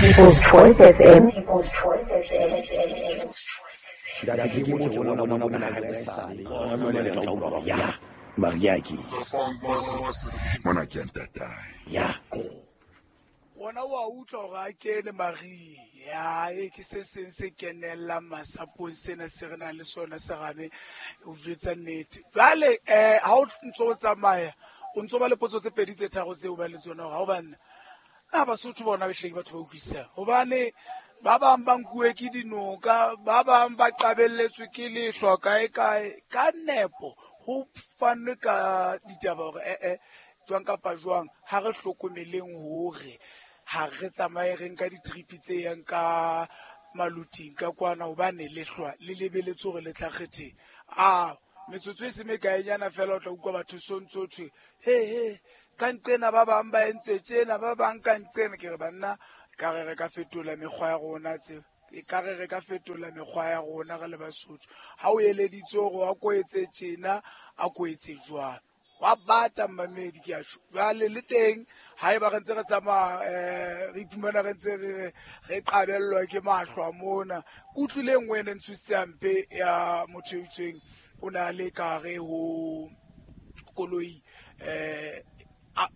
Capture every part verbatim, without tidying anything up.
People's Choice F M. People's Choice F M. People's Choice F M. Ntate ke motho ona ona ona ha e sale. Ona jwale re tla utlwa ya Maria ke. Mona ke ntatae. Ya. Wona wa utlwa hore a kene Maria. Ya e ke se seng se kenellang masapong sena se re nang le sona serame o jwetsa nnete. Jwale eh ha o ntso o tsamaya o ntso ba le potso tse pedi tse tharo tseo ba le tsona hore ha o banna na Basotho bona behle ke batho ba utlwisisang hobane ba bang ba nkuwe ke dinoka, ba bang ba qabelletswe ke lehlwa kae kae ka nepo ho fanwe ka ditaba hore eh eh jwang kapa jwang ha re hlokomeleng hore ha re tsamaye re nka di-trip tse yang ka maluting ka kwana hobane lehlwa le lebeletse hore le tla kgetheng. A metsotso e se mekaenyana fela o tla utlwa batho so ntso thwe he he ka nqena ba bang ba entse tjena ba bang ka nqena. Ke re banna ka re re ka fetola mekgwa ya rona tseo e ka re re ka fetola mekgwa ya rona re le Basotho. Ha o eleditse hore wa ko etse tjena a ko etse jwang wa bata mmamedi ke a tjho. Jwale le teng haeba re ntse re tsamaya eh re iphumana re ntse re re qabellwa ke mahlwa mona. Ke utlwile e nngwe e ne ntshositse hampe ya motho e itseng o na le ka hare ho koloi eh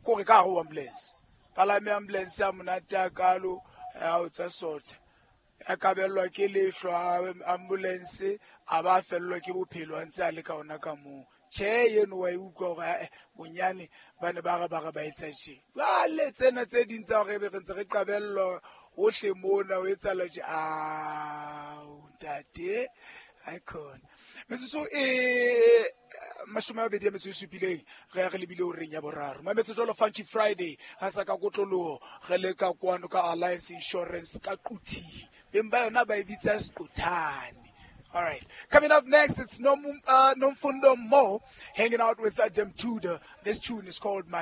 kore ka hare ho ambulance. Palame ambulance ya monate a kalo ya o tsa sotha. A kabellwa ke lehlwa ambulance a ba fellwa ke bophelo a ntse a le ka ona ka moo. Tjhe eno wa e utlwa hore eh bonyane ba ne ba re ba re ba etsa tje. Jwale tsena tse ding tsa hore ebe re ntse re qabellwa hohle mona o etsahala tje. Ao ntate icon. Metsotso e mashome a mabedi a metso e supileng re ya re lebile horeng ya boraro. Mametse jwalo Funky Friday ha sa ka kotloloho re le ka kwano ka Alliance Insurance ka Quthing. Beng ba yona ba e bitsa Seqothane. All right. Coming up next, it's Nom, uh, Nomfundo Mo hanging out with Adam Tudor. This tune is called My